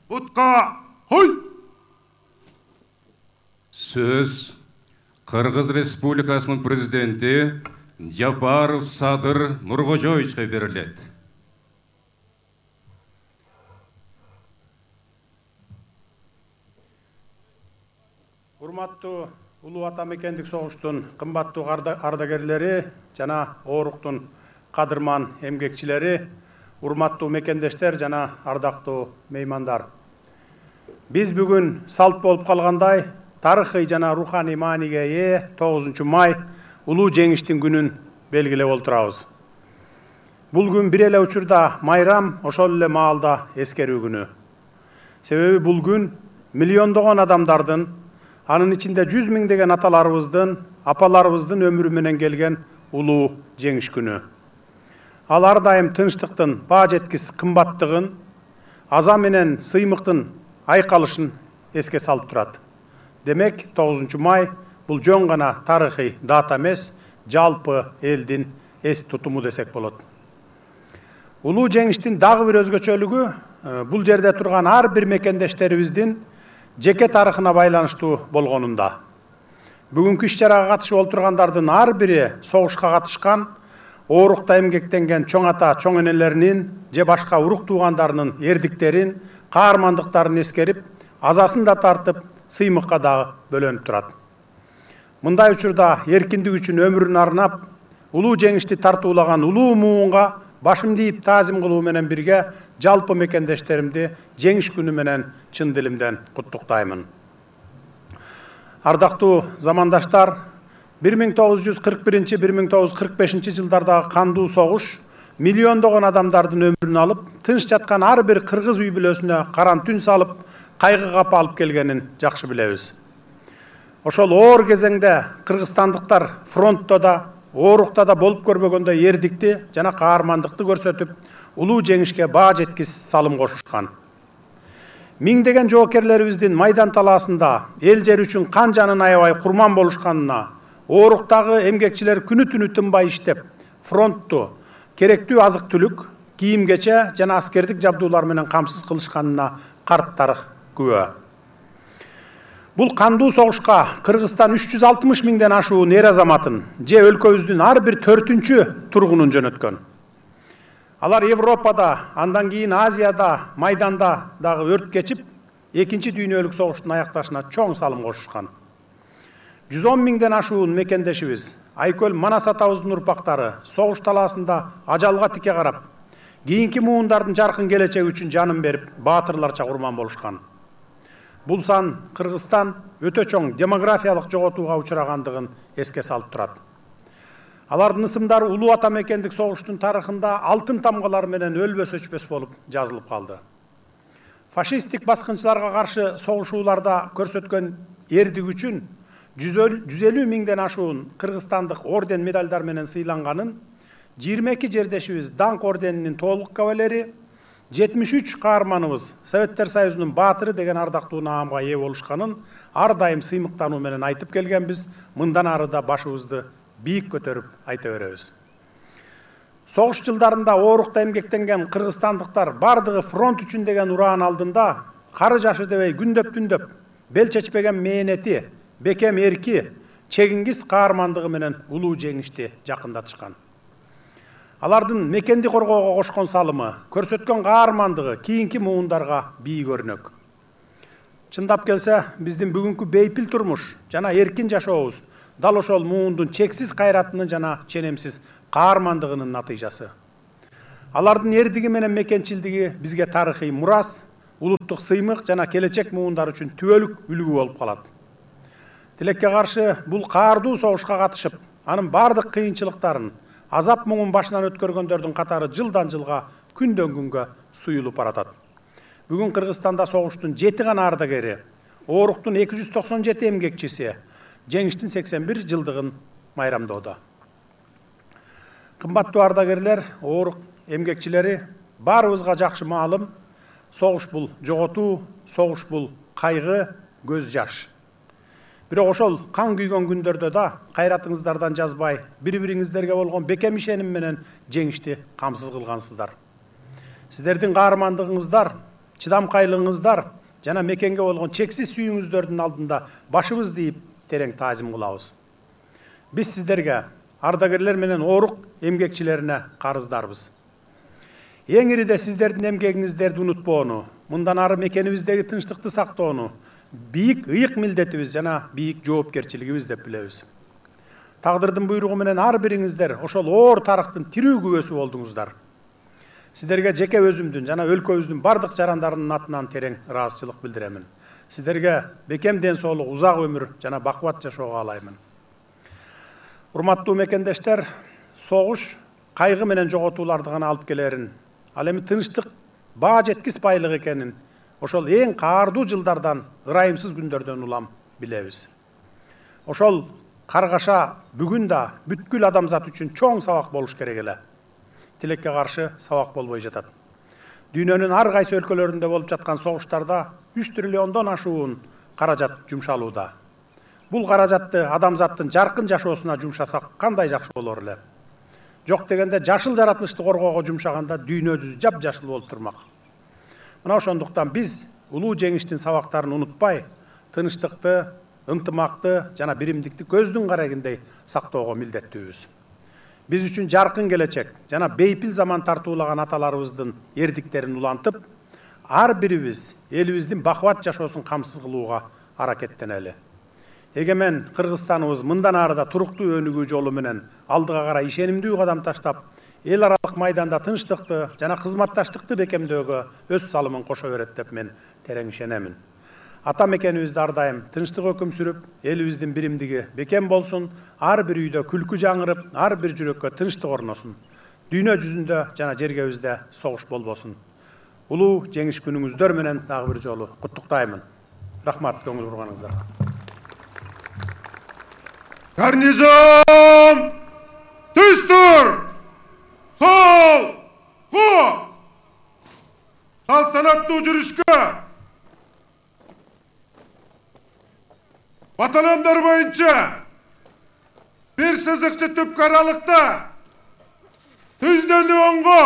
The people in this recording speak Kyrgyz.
Утка хой! Сөз Кыргыз Республикасынын президенти Жапаров Садыр Нуркожоевичке берилет. Урматтуу улуу ата мекендик согуштун кымбаттуу ардагерлери жана ооруктун кадырман эмгекчилери, урматтуу мекендештер жана ардактуу меймандар. Биз бүгүн салт болуп калгандай тарыхый жана руханий мааниге ээ 9 май улуу жеңиштин күнүн белгилеп отурабыз. Бул күн бир эле учурда майрам, ошол эле маалда эскерүү күнү. Себеби бул күн миллиондогон адамдардын, анын ичинде 100 миңдеген аталарыбыздын, апаларыбыздын өмүрү менен келген улуу жеңиш күнү. Ал ар дайым тынчтыктын баа жеткис кымбаттыгын, аза менен сыймыктын айкалышын эске салып турат. Демек, 9 май бул жөн гана тарыхый дата эмес, жалпы элдин эс тутуму десек болот. Улуу жеңиштин дагы бир өзгөчөлүгү бул жерде турган ар бир мекендештерибиздин жеке тарыхына байланыштуу болгонунда. Бүгүнкү иш-чарага катышып отургандардын ар бири согушка катышкан, оорукта эмгектенген чоң ата, чоң энелеринин же башка урук туугандарынын эрдиктерин, каармандыктарын эскерип, азасын да тартып, сыймыкка дагы бөлөнүп турат. Мындай учурда эркиндик үчүн өмүрүн арнап, улуу жеңишти тартуулаган улуу муунга башымды ийип таазим кылуу менен бирге жалпы мекендештеримди жеңиш күнү менен чын дилимден куттуктаймын. Ардактуу замандаштар, 1941-1945 жылдардагы кандуу согуш миллиондогон адамдардын өмүрүн алып, тынч жаткан ар бир кыргыз үй бүлөсүнө каран түн салып, кайгы кап алып келгенин жакшы билебиз. Ошол оор кезеңде кыргызстандыктар фронтто да, оорукта да болуп көрбөгөндөй эрдикти жана каармандыкты көрсөтүп, улуу жеңишке баа жеткис салым кошушкан. Миңдеген жоокерлерибиздин майдан талаасында эл жер үчүн кан жанын аябай курман болушканына, ооруктагы эмгекчилер күнү түнү тынбай иштеп, фронтту керектүү азык-түлүк, кийим-кече жана аскердик жабдуулар менен камсыз кылышканына карт тарых күбө. Бул кандуу согушка Кыргызстан 360 миңден ашуун эр азаматын же өлкөбүздүн ар бир 4-чү тургунун жөнөткөн. Алар Европада, андан кийин Азияда, майданда дагы өрт кечип, 2-чи дүйнөлүк согуштун аякташына чоң салым кошушкан. 110 миңден ашуун мекендешибиз, Айкөл Манас атабыздын урпактары согуш талаасында ажалга тике карап, кийинки муундардын жаркын келечеги үчүн жанын берип, баатырларча курман болушкан. Бул сан Кыргызстан өтө чоң демографиялык жоготууга учурагандыгын эске салып турат. Алардын ысымдары улуу ата мекендик согуштун тарыхында алтын тамгалар менен өлбөс өчпөс болуп жазылып калды. Фашисттик баскынчыларга каршы согушууларда көрсөткөн эрдик үчүн 150 миңден ашуун кыргызстандык орден медальдар менен сыйланганын, 22 жердешибиз Даңк орденинин толук кавалери, 73 каарманыбыз Советтер Союзунун баатыры деген ардактуу наамга ээ болушканын ар дайым сыймыктануу менен айтып келгенбиз, мындан ары да башыбызды бийик көтөрүп айта беребиз. Согуш жылдарында оорукта эмгектенген кыргызстандыктар бардыгы фронт үчүн деген ураан алдында кары жашы дебей күндөп-түндөп бел чечпеген мээнети, бекем эрки, чегиңгиз каармандыгы менен улуу жеңишти жакындатышкан. Алардын мекенди коргоого кошкон салымы, көрсөткөн каармандыгы кийинки муундарга бий көрнөк. Чындап келсе, биздин бүгүнкү бейпил турмуш жана эркин жашообуз дал ошол муундун чексиз кайратынын жана ченемсиз каармандыгынын натыйжасы. Алардын эрдиги менен мекенчилдиги бизге тарыхый мурас, улуттук сыймык жана келечек муундар үчүн түбөлүк үлгү болуп калат. Тилекке каршы бул каардуу согушка катышып, анын бардык кыйынчылыктарын, азап муңун башынан өткөргөндөрдүн катары жылдан жылга, күндөн күнгө суюлуп баратат. Бүгүн Кыргызстанда согуштун 7 гана ардагери, ооруктун 297 эмгекчиси жеңиштин 81 жылдыгын майрамдоодо. Кымбаттуу ардагерлер, оорук эмгекчилери, баарыбызга жакшы маалым, согуш бул жоготуу, согуш бул кайгы, көз жаш. Бирок ошол кан күйгөн күндөрдө да кайратыңыздардан жазбай, бири-бириңиздерге болгон бекем ишеним менен жеңишти камсыз кылгансыздар. Сиздердин каармандыгыңыздар чыдамкайлыгыңыздар жана мекенге болгон чексиз сүйүүңүздөрдүн алдында башыбызды ийип терең таазим кылабыз. Биз сиздерге, ардагерлер менен оорук эмгекчилерине карыздарбыз. Эң ириде сиздердин эмгегиңиздерди унутпоону, мындан ары мекенибиздеги тынчтыкты сактоону бийик ыйык милдетибиз жана бийик жоопкерчилигибиз деп билебиз. Тагдырдын буйругу менен ар бириңиздер ошол оор тарыхтын тирүү күбөсү болдуңуздар. Сиздерге жеке өзүмдүн жана өлкөбүздүн бардык жарандарынын атынан терең ыраазычылык билдиремин. Сиздерге бекем ден соолук, узак өмүр жана бакубат жашоо каалаймын. Урматтуу мекендештер, согуш кайгы менен жоготууларды гана алып келерин, ал эми тынчтык баа жеткис байлык экенин ошол эң каардуу жылдардан, ырайымсыз күндөрдөн улам билебиз. Ошол каргаша бүгүн да бүткүл адамзат үчүн чоң сабак болуш керек эле. Тилекке каршы сабак болбой жатат. Дүйнөнүн ар кайсы өлкөлөрүндө болуп жаткан согуштарда 3 триллиондон ашуун каражат жумшалууда. Бул каражатты адамзаттын жаркын жашоосуна жумшасак кандай жакшы болор эле. Жок дегенде жашыл жаратылышты коргоого жумшаганда дүйнө жүзү жап-жашыл болуп турмак. Мына ошондуктан биз улуу жеңиштин сабактарын унутпай, тынчтыкты, ынтымакты жана биримдикти көздүн карагындей сактоого милдеттүүбүз. Биз үчүн жаркын келечек жана бейпил заман тартуулаган аталарыбыздын эрдиктерин улантып, ар бирибиз элибиздин бакубат жашоосун камсыз кылууга аракеттенели. Эгемен Кыргызстаныбыз мындан ары да туруктуу өнүгүү жолу менен алдыга карай ишенимдүү кадам таштап, эл аралык майданда тынчтыкты жана кызматташтыкты бекемдөөгө өз салымын кошо берет деп мен терең ишенемин. Ата мекенибизде ар дайым тынчтык өкүм сүрүп, элибиздин биримдиги бекем болсун, ар бир үйдө күлкү жаңырып, ар бир жүрөккө тынчтык орносун. Дүйнө жүзүндө жана жергебизде согуш болбосун. Улуу жеңиш күнүңүздөр менен дагы бир жолу куттуктаймын. Рахмат көңүл бурганыңыздарга. Гарнизон! Түз тур! Сол! Ку! Салтанаттуу жүрүшкө! Батальондар боюнча бир сызыкчы түпкү аралыкта түздөн оңго